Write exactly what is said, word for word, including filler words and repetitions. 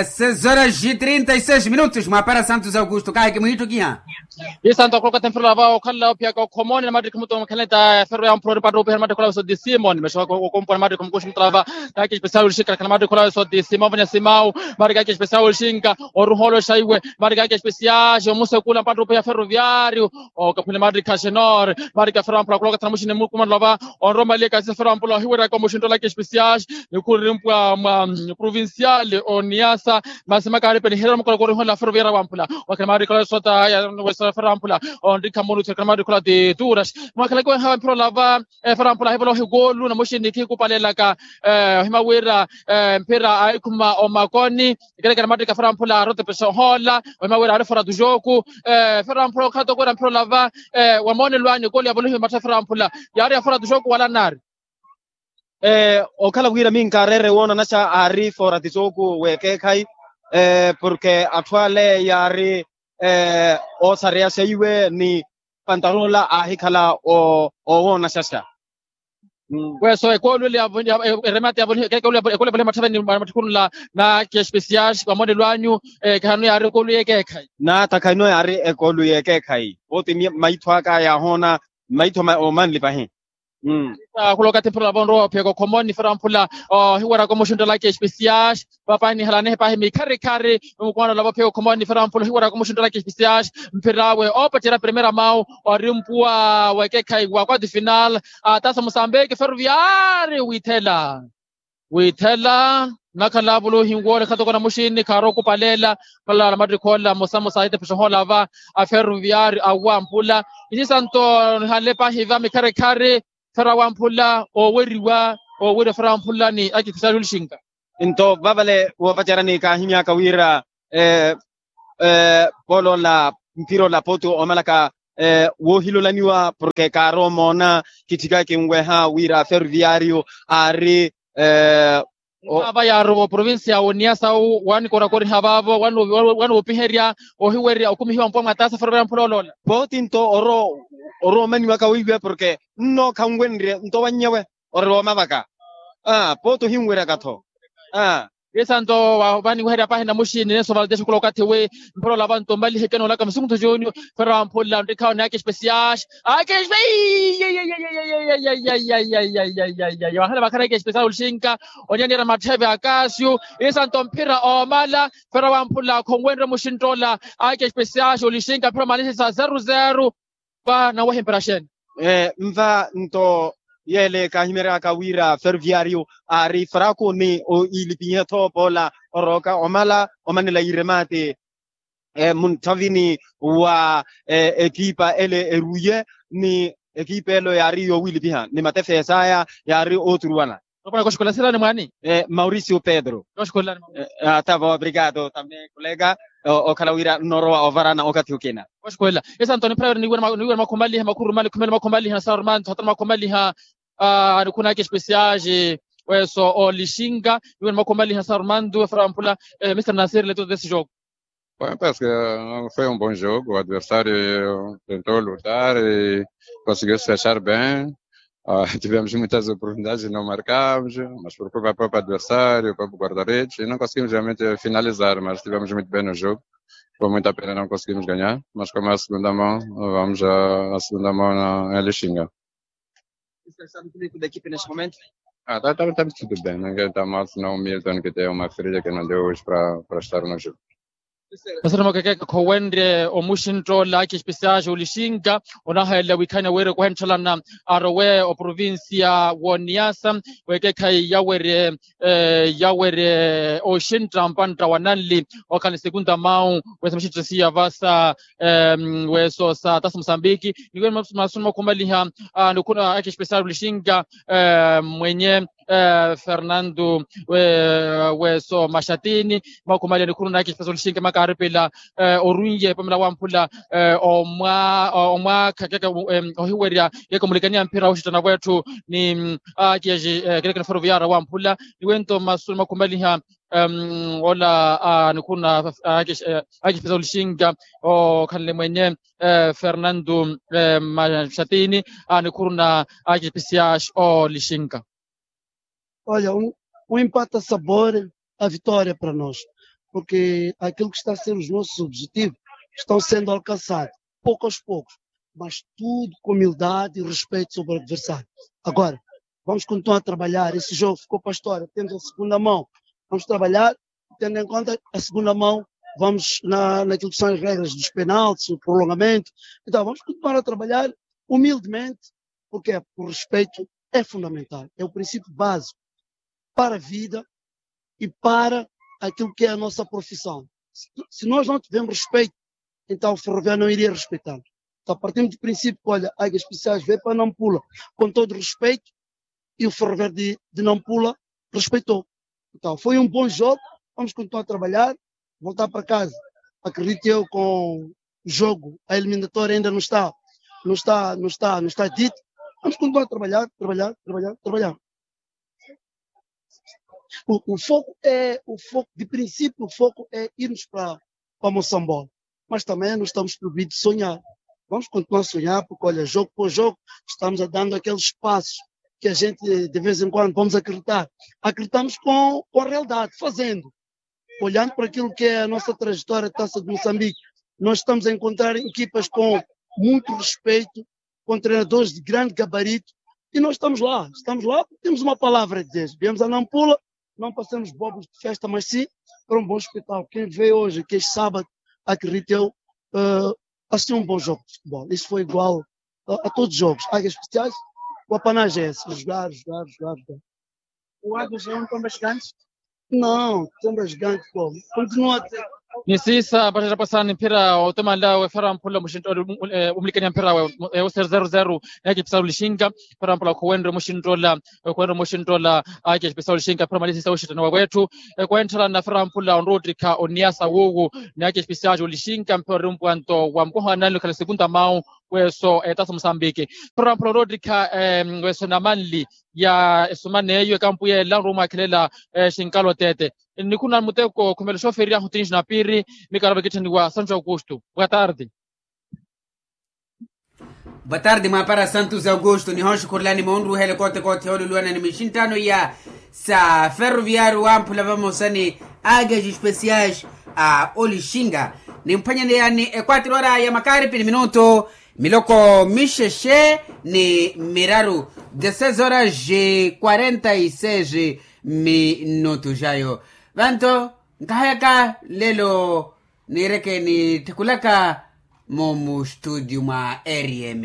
Seis horas e trinta e seis minutos mwaapara santos augusto kaahiki mwiittukiha. Isanto akhulokathe mphira lava okhalela ophiyaka okhomoni na mattikhi muto mukhaleta feru ya mphura oripattupiha na mattikhi olawe soti simoni mesho wakompwa na mattikhi mukuxi mutalava. Kaki espesial olixinka na mattikhi olawe soti simoni vanya simau. Mattikhi kaki espesial olixinka oruhoolo xaiwe. Mattikhi kaki espesial omusekula mpattupiha ferroviario. Okaphwile mattikhi a xenor. Mattikhi a feru ya mphura akhulokathe na muxini mukumano lava onromaliyaka sisa feru ya mphura ohiweraka omuxinto laki espesial. Nikhurimpwa mwa provincial oniasa. Masi makaari peniherya mukoloko oriholela ferroviaria wamphula. Wakhela maari khala sota ya wesera ferroviaria wamphula. Onrikha munu thekela maari khala ti turas mwakhala kiwenha mphira olava. Ferroviaria wamphula ahivola ohikolu na muxini khikupalelaka. Ohima wira mphira aikhuma omakoni. Kelekela maari ka ferroviaria wamphula arotepesa ohola ohima wira ari fora tujoku. Ferroviaria wamphula okhala tokwira mphira olava. Wamoonelo anyu ekolu yavolihiwe mattha ferroviaria wamphula yaari ya fora tujoku wala naari. Okhala wira minkaarere woonanaxa aari fora tisooku w'ekeekhayi. Porke atthu ale yaari oosareyaxa iwe ni pantarola aahikhala owoonaxaxa. Weso ekolu ele eremate yavolihiwe ekeekhayi ekolu yavolihiwe matthaveni mattikhunula. Naki espesial wamonelo anyu. Khanu yaari ekolu y'ekeekhayi. Nata khanu yaari ekolu y'ekeekhayi. Poti maitho aka yaahoona maitho omanli pahi. Khuloka temphira lava onrowa ophiyaka okhomoni ferroviaria wamphula ohiweraka omuxinto laki espesial. Papahi nihalanihe pahi mikharikhari. Mukumano lava ophiyaka okhomoni ferroviaria wamphula ohiweraka omuxinto laki espesial. Mphir'awe oopacerya primera mau orimpuwa w'ekeekhayi wa quart final. Atasa musambiki ferroviaria withela. Withela nakhala avuluhi nwoole khatoko na muxini khaari okupaleela. Palala mattikhi ola mosamosa aitepesa ohola va a ferroviaria awamphula. Isisanto nihanle pahi va mikharikhari. Ferroviaria wamphula oweriwa oweriwa ferroviaria wamphula ni aki espesial olixinka. Nto vavale woopacerani kaahimyaka wira poloola mphira ola pooti omalaka woohilolaniwa porke kaari omoona. Kitthika kinweha wira ferroviario aari. Vava yaari oprovincia ya oniasa wu wanikorakoriha vaavo wanoopiherya ohiwerya okumihiwa mpuwa mwatasa ferroviaria wamphula oloola. Pooti nto orowa omaniwaka weiwe porke nno khanwenrye nto wannyewe. Ori woomavaka. Pooti ohinweryaka-tho. Isanto vaniweherya pahi na muxini nenso valdexa khula okathi wi mphira olava nto mmaliheke noolaka musukuntho junior. Ferroviaria wamphula onrikhawo ni aki espesial. Aki espesial. Wahala vakhara aki espesial olixinka. Onyaniyerya mattheve akasio. Isanto mphira oomala. Ferroviaria wamphula khonwenrye muxinto ola. Aki espesial olixinka mphira omalihisa zero zero. Nva naweha emperaxene. Nva nto yeele kaahimeryaka wira ferroviario aari fraku ni iilipihe-tho poola orooka omala omanela iremate. Munthavini wa ekipa ele eruye ni ekipa elo yaari yoowilipiha ni matefesa aya yaari ooturuwana. Okhwela sirani mwaani. Mauricio pedro. Tava obrigado tambe kolega. Okhala wira nnoorowa ovarana okathi okina. Oxukhwela esa antoni phira wira niwira makhumaliha makhurumali khumela makhumaliha na sarmanto hatana makhumaliha. Nikhunaka espesiaji weso olixinka niwira makhumaliha na sarmanto efara wamphula. Mister nasir leto desi jogo. Foi um bom jogo, o adversário tentou lutar e conseguiu se fechar bem. Tivemos muitas oportunidades e não marcamos, mas por culpa do próprio adversário, o próprio guarda-redes, e não conseguimos realmente finalizar, mas tivemos muito bem no jogo. Foi muita pena não conseguimos ganhar, mas como é a segunda mão, vamos à segunda mão em Lixinga. Está tudo bem, ninguém está mal, senão o Milton que tem uma ferida que não deu hoje para estar no jogo. Masana makekeke khowenrye omuxintt'ola aki espesiaxi olixinka onahalela wiikhanya wira kuhentthalana arowe oprovincia w'oniasa w'ekekhayi yawerye yawerye oxintta mpantta wa nanli. Okhala ni segunda mau wesa mixintta siya vasa weso sa tasa musambiki niwene masuna makhumaliha. Nikhuna aki espesiaxi olixinka mwenye fernando weso maxatini makhumaliha nikhuna naki espesiaxi olixinka makaaripela orunye pamela wamphula omwaakha keke ohiwerya keke omulikaniya mphira oxittana wetthu ni aki espesiaxi keke ni ferroviaria wamphula. Niwento masuna makhumaliha ola nikhuna aki espesiaxi olixinka okhanle mwenye fernando maxatini nikhuruna aki espesiaxi olixinka. Olha, um empata sabor a vitória para nós. porque aquilo que está a ser os nossos objetivos estão sendo alcançados, pouco aos poucos, mas tudo com humildade e respeito sobre o adversário. Agora, vamos continuar a trabalhar. Esse jogo ficou para a história. Temos a segunda mão. Vamos trabalhar, tendo em conta a segunda mão, vamos na, naquilo que são as regras dos penaltis, o prolongamento. Então, vamos continuar a trabalhar humildemente, porque o respeito é fundamental, é o princípio básico para a vida e para aquilo que é a nossa profissão. Se, se nós não tivermos respeito, então o Ferroviário não iria respeitar. Então, partindo do princípio que, olha, Águias Especiais veio para Nampula, com todo respeito, e o Ferroviário de, de Nampula respeitou. Então, foi um bom jogo, vamos continuar a trabalhar, voltar para casa. Acredito eu, com o jogo, a eliminatória ainda não está, não está, não está, não está dita. Vamos continuar a trabalhar, trabalhar, trabalhar, trabalhar. O, o foco é, o foco, de princípio, o foco é irmos para, para Moçambola. Mas também não estamos proibidos de sonhar. Vamos continuar a sonhar, porque, olha, jogo por jogo, estamos a dando aqueles passos que a gente, de vez em quando, vamos acreditar. Acreditamos com, com a realidade, fazendo. Olhando para aquilo que é a nossa trajetória de Taça de Moçambique, nós estamos a encontrar equipas com muito respeito, com treinadores de grande gabarito, e nós estamos lá, estamos lá porque temos uma palavra a dizer. Viemos a Nampula, não passamos bobos de festa, mas sim para um bom espetáculo. Quem vê hoje, que é sábado, acredito eu, eh, assistiu um bom jogo de futebol. Isso foi igual a, a todos os jogos. Águias Especiais, o apanagem é esse, jogar, jogar, jogar, jogar. O Águias é um tão bastante? Não, tão bastante como. Continua a ter. Ni siisa paxaxa pasani mphira otemanla wefera mphula muxinto omulikaniha mphira we, ewo seri zeru zeru. Neekipisaru lixinka, mphira mphula khuwenre muxinto ola, khuwenre muxinto ola. Aakiya espesial lixinka mphira mali siisa wuxittana wawetthu. Khuwentthalana mphira mphula onroottikha oniyasa wuwu. Neekiya espesial lixinka mphira ori mpwanto wa mukoha nanle okhala segunda mau. Weso etasa musambiki. Mphira mphula onroottikha, weso namanli ya esumana eyo ekampu yeela onruma mwaakhelela. Xinkalo tete, nikhuna muteko khumela oxoferyahu tinji na piiri. Mikarava kitthaniwa santo augusto. Boa tarde. Boa tarde mwaapara santos augusto nihooxukhurelani moonruhela koote koote yooluluwana ni mixinttano iya sa ferroviario wamphula vamosa ni ages especiais a olixinga. Nimphwanyaneyani ekwatiro ora ya makaripi ni minuto miloko mixexe ni miraru. Dezesseis horas quarenta e seis minutos ayo. Vanto nkahayaka lelo niireke nitthekulaka. Mu mustudio mwa rm.